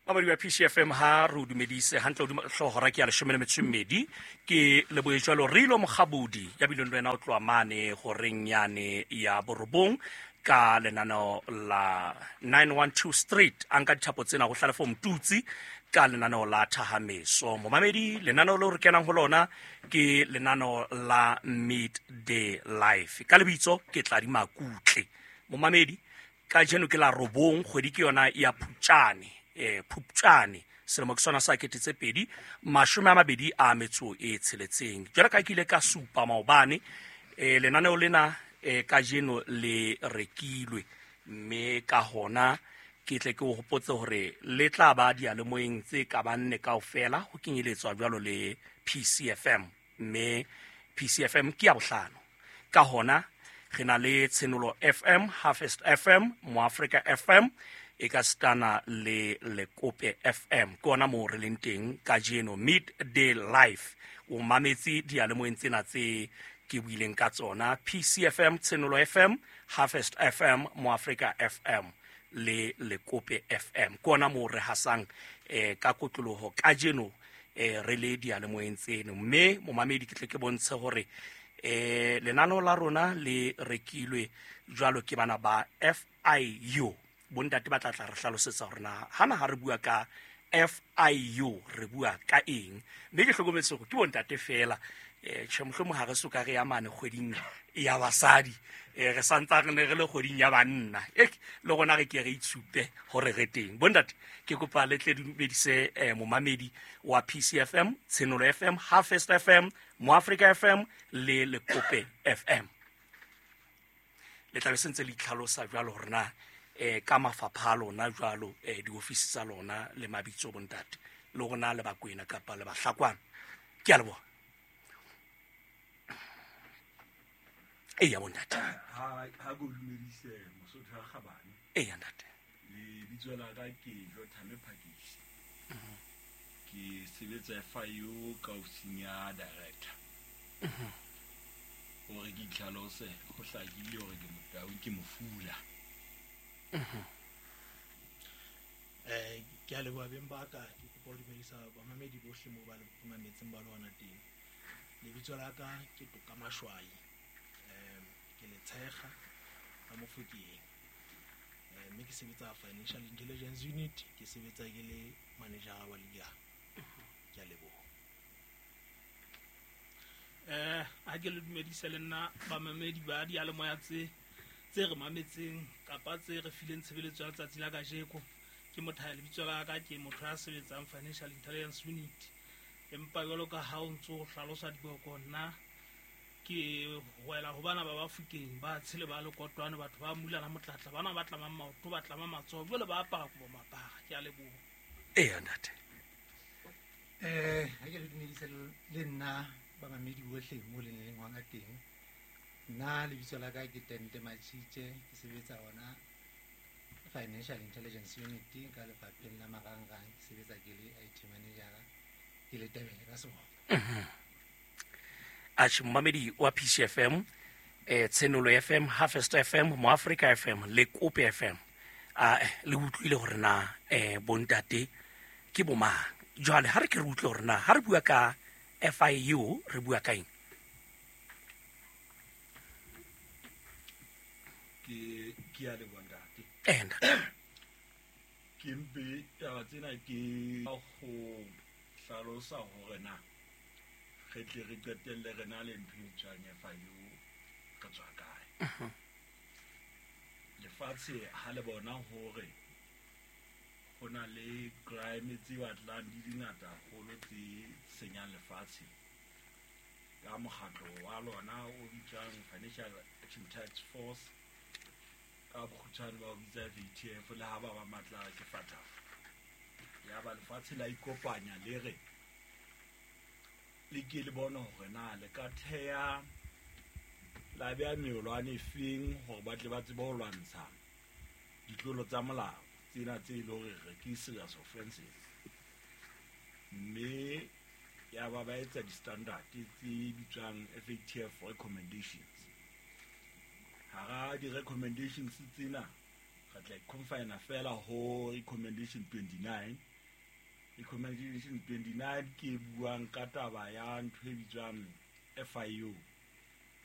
Mamedi wa PCFM, ha re o dumedise hantle hodima hlooho ke ya 12. Ke lebohe jwalo Rilo Mokgabudi ya bileng le wena o tloha mane horeng yane ya 9 ka lenaneo la 912 Street. A nka dithapo tsena ho Hlalefo Motutsi ka lenaneo la Thahameso. Momamedi, lenaneo leo re kenang ho lona ke lenaneo la Midday Life. Ka lebitso ke Tladi Makutle. Momamedi, kajeno ke la 9, kgwedi ke yona ya Phupjane, Phupjane selemo ke sona sa 2026. Jwalo ka ke ile ka supa maobane, lenaneo lena kajeno le rekilwe, mme ka hona ke tle ke o hopotse hore le tla ba diyalemoyeng tse ka bang nne kaofela, ho kenyeletswa jwalo le PCFM, mme PCFM ke ya bohlano. Ka hona re na le Tshenolo FM, Harvest FM, Moafrika FM, e ka stana le Lekope FM. Ke ona moo re leng teng kajeno, Midday Life. O mametse diyalemoyeng tsena tse ke buileng ka tsona, PCFM, Tshenolo FM, Harvest FM, Moafrika FM le Lekope FM. Ke ona moo re hasang ka kotloloho kajeno, re le diyalemoyeng tseno. Mme momamedi, ke tle ke bontshe hore lenaneo la rona le rekilwe jwalo ke bana ba FIU. Bontate ba tla tla re hlalosetsa hore na hana ha re bua ka FIU re bua ka eng. Mme ke hlokometse hore ke bontate fela, tjhe, mohlomong ha re soka re ya mane kgweding ya basadi, re santsa re ne re le kgweding ya banna. Le rona re ke re itshupe hore re teng. Bontate, ke kopa le tle dumedise momamedi wa PCFM, Tshenolo FM, Harvest FM, Moafrika FM le Lekope FM. Le tla be se ntse le itlhalosa jwalo hore na ka mafapha a lona jwalo, diofisi tsa lona le mabitso bontate, le rona le Bakwena kapa le Bahlakwana. Ke a leboha. Eya bontate. Ha ke o dumedise Mosotho ya Kgabane. Eya ntate. Lebitso la ka ke Jothame Phakisi. Ke sebetsa FIU ka ofising ya director. Hore ke itlhalose, ho hlakile hore ke Motau, ke mofula. Ke a leboha beng ba ka, ke kopa ho dumedisa bamamedi bohle moo ba le mametseng ba le hona teng. Lebitso la ka ke Toka Mashwai. Ke letshega la Mofokeng. Mme ke sebetsa Financial Intelligence Unit, ke sebetsa ke le manager wa legal. Ke a leboha. Ha ke le dumedise le nna bamamedi ba diyalemoya tse re mametseng kapa tse re fileng tshebeletso ya letsatsi la kajeko. Ke Mothaya, lebitso la ka, ke motho ya sebetsang Financial Intelligence Unit. Empa jwalo ka ha o ntso hlalosa diboko, nna ke wela ho bana ba Bafokeng ba tshele ba lekotwane, batho ba mulana motlatla, bana ba tlamang maoto, ba tlama matsoho, jwale ba apara kobo mapara. Ke a leboha. Eya ntate. Ha ke le dumedise le nna bamamedi bohle mo le leng hona teng. Nna lebitso la ka ke Tente Machitje, ke sebetsa hona Financial Intelligence Unit ka lefapheng la marangrang, ke sebetsa ke le IT manager, ke le Tebele ka seboko. Atjhe, momamedi wa PCFM, Tshenolo FM, Harvest FM, Moafrika FM le Kope FM. Le utlwile hore na bontate ke bomang. Jwale ha re ke re utlwe hore na ha re bua ka FIU re bua ka eng. Ke a leboha ntate. Ntate. Ke mpe taba tsena ke ho hlalosa hore na re tle re qetelle re na le ntho e bitswang FIU re tswa kae. Lefatshe ha le bona hore ho na le crime tse batlang di di ngata haholo tse senyang lefatshe, ka mokgatlo wa lona o bitswang Financial Action Task Force, ka bokgutshwane ba o bitsa FATF, le ha ba ba matla ke FATF. Ya ba lefatshe la ikopanya le re le ke le bone hore na le ka theha la beha meolwane e feng hore ba tle ba tsebe ho lwantsha ditlolo tsa molao tsena tse e le hore re ke serious offenses. Mme ya ba ba etsa di-standard tse bitswang FATF recommendations. Hara di-recommendations tsena re tla confine fela ho recommendation 29. Recommendation 29 ke e buang ka taba ya ntho e bitswang FIU.